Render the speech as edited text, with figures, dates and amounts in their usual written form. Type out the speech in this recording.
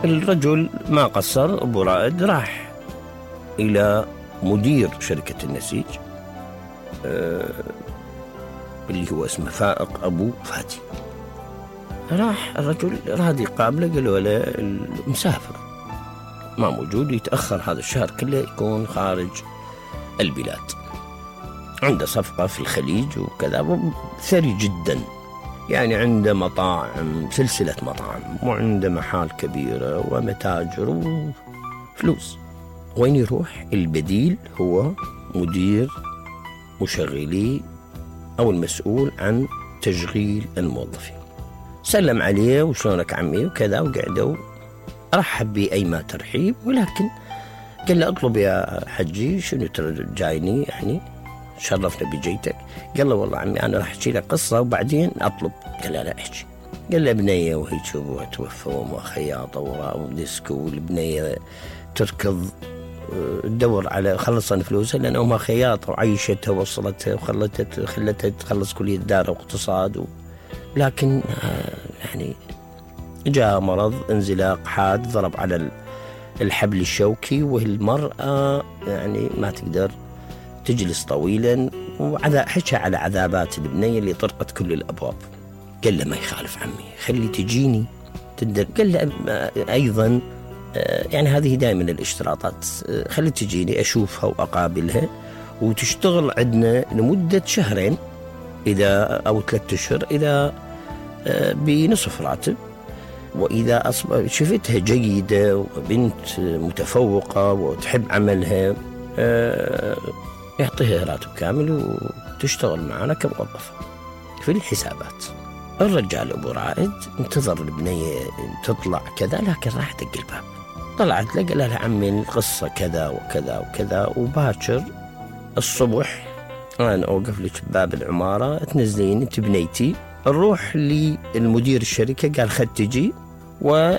الرجل ما قصر، أبو رائد راح إلى مدير شركة النسيج اللي هو اسمه فائق أبو فادي. راح الرجل راد يقابله، قالوا له المسافر ما موجود، يتأخر هذا الشهر كله، يكون خارج البلاد، عنده صفقة في الخليج وكذا، ثري جدا، يعني عنده مطاعم، سلسلة مطاعم، وعنده محال كبيرة ومتاجر وفلوس. وين يروح؟ البديل هو مدير مشغلي أو المسؤول عن تشغيل الموظفين. سلم عليه وشلونك عمي وكذا، وقعدوا رحب بي أيما ترحيب، ولكن قال له اطلب يا حجي، شنو جايني يعني، شرفنا بجيتك. قال له والله عمي أنا راح أحكي لك قصة وبعدين أطلب. قال له لا احكي. قال له بنية وهي أبوها توفى وأمها خياطة وديسكو، والبنية تركض تدور على خلصن فلوسها لأن أمها خياطة وعيشتها ووصلتها خلتها تخلص كلية دار واقتصاد لكن يعني جاء مرض انزلاق حاد ضرب على الحبل الشوكي، والمرأة يعني ما تقدر تجلس طويلا، حكى على عذابات البنية اللي طرقت كل الأبواب. قال له ما يخالف عمي، خلي تجيني تقدر. قال له أيضا يعني هذه دائما الاشتراطات، خلي تجيني أشوفها وأقابلها وتشتغل عندنا لمدة شهرين إذا أو 3 أشهر إذا بنصف راتب، وإذا شفتها جيدة وبنت متفوقة وتحب عملها يعطيها راتب كامل وتشتغل معنا كموظفة في الحسابات. الرجال أبو رائد انتظر البنية تطلع كذا، لكن راح دق الباب. طلعت له قال لها عمي القصة كذا وكذا وكذا، وباكر الصبح أنا أوقف لك بباب العمارة، تنزلين انت بنيتي، نروح للمدير الشركة، قال خد تجي